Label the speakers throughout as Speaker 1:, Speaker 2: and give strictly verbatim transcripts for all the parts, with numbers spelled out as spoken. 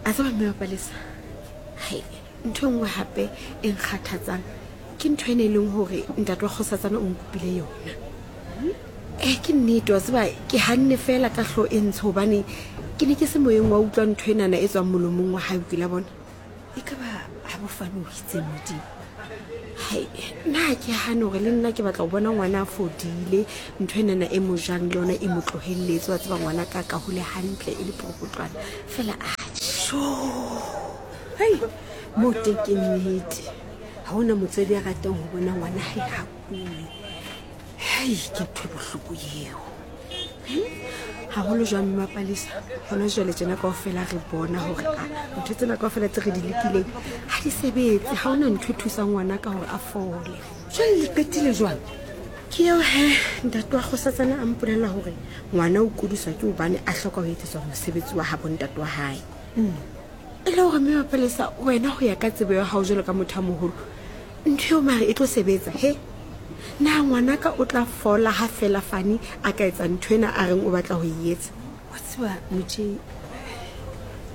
Speaker 1: A tseba mme wa Palesa, hai ntho e nngwe hape e nkgathatsang ke ntho ene e leng hore ntate wa kgosatsana o nkopile yona. Eh ke nnete wa tseba ke hanne fela ka hlo e ntsho hobane ke ne ke se moyeng wa utlwa ntho enana e tswang molomong wa hae o kila bona.
Speaker 2: E ka ba ha bofane o itseng modimo.
Speaker 1: Hai nna ha ke hane hore le nna ke batla ho bona ngwana a fodile, ntho enana e mo jang le yona e mo tlohelletse, wa tseba ngwana ka ka hole hantle e le poropotlwana fela a
Speaker 2: Sho. Hei, mo teng ke nnete. Ha hona motswadi a ratang ho bona ngwana hae ha kule. Hei, ke ntho e bohloko eo.
Speaker 1: Haholo jwang mme wa Palesa, hona jwale tjena kaofela re bona hore a ntho tsena kaofela tse re di lekileng ha di sebetse, ha hona ntho e thusang ngwana ka hore a fole.
Speaker 2: Jwale le qetile jwang?
Speaker 1: Ke eo he ntate wa kgosatsana a mpolella hore ngwana o kudiswa ke hobane a hloka ho etsetswa mosebetsi wa habo ntate wa hae. E le hore mme wa Palesa, wena ho ya ka tsebo ya hao jwalo ka motho a moholo, ntho eo mare e tlo sebetsa he? Na ngwanaka o tla fola ha fela Fani a ka etsa ntho ena a reng o batla ho e etsa?
Speaker 2: Wa tseba motjhe,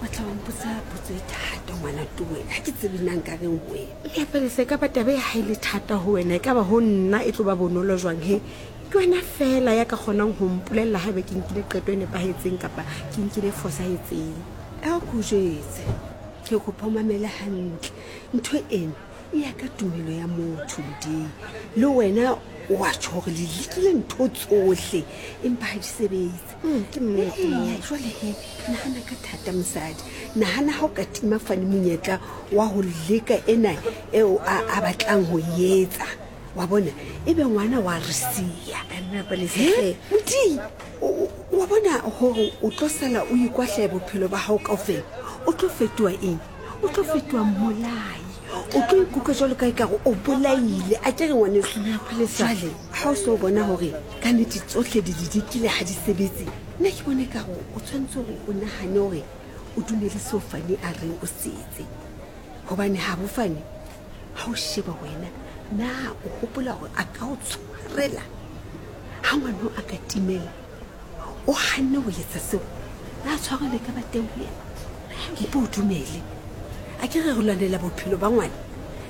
Speaker 2: wa tla wa mpotsa potso e thata ngwana towe. Ha ke tsebe na nka reng ho wena.
Speaker 1: Mme Palesa, e ka ba taba e ha e le thata ho wena, e ka ba ho nna e tlo ba bonolo jwang he? Ke wena fela ya ka kgonang ho mpolella haebe ke nkile qeto e nepahetseng kapa ke nkile e fosahetseng.
Speaker 2: A ko jwetse, ke kopa o mamele hantle. Ntho ena e ya ka tumelo ya motho Modimo. Le wena o a tjho hore le lekile ntho tsohle empa ha di sebetse.
Speaker 1: Mm, ke nnete.
Speaker 2: Eya, jwale he, nahana ka thata mosadi. Nahana ha o ka tima Fani monyetla wa ho leka ena eo a, a batlang ho e etsa. Wa bona, ebe ngwana wa re siya.
Speaker 1: Mme Palesa,
Speaker 2: He?
Speaker 1: hle.
Speaker 2: Modimo, o, o, wa bona hore o tlo sala o ikwahlaya bophelo ba hao kaofela. O tlo fetoha eng? O tlo fetoha mmolai. O tlo ikutlwa jwalo ka ekare o bolaile. A ke re ngwaneso,
Speaker 1: Mme Palesa.
Speaker 2: jwale ha o so bona hore ka nnete tsohle di di dikile ha di sebetse, nna ke bona ekare o tshwanetse hore o nahane hore o dumele seo Fani a reng o se etse. Hobane ha bo Fani, ha o sheba wena, na o hopola hore a ka o tshwarela ha ngwana a ka timela? O hanne ho etsa seo, na tshwarelo e ka ba teng ho yena? Mpo o dumele. A ke re re lwanela bophelo ba ngwana.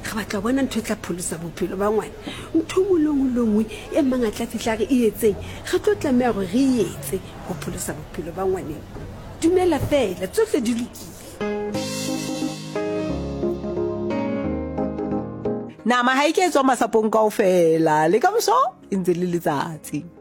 Speaker 2: Re batla ho bona ntho e tla pholosa bophelo ba ngwana. Ntho e nngwe le nngwe le nngwe e mang a tla fihla a re e etseng, re tlo tlameha hore re e etse ho pholosa bophelo ba ngwaneng. Dumela fela, tsohle di lokile.
Speaker 3: Nama ha e ke tswa masapong kaofela, le ka moso e ntse le letsatsi.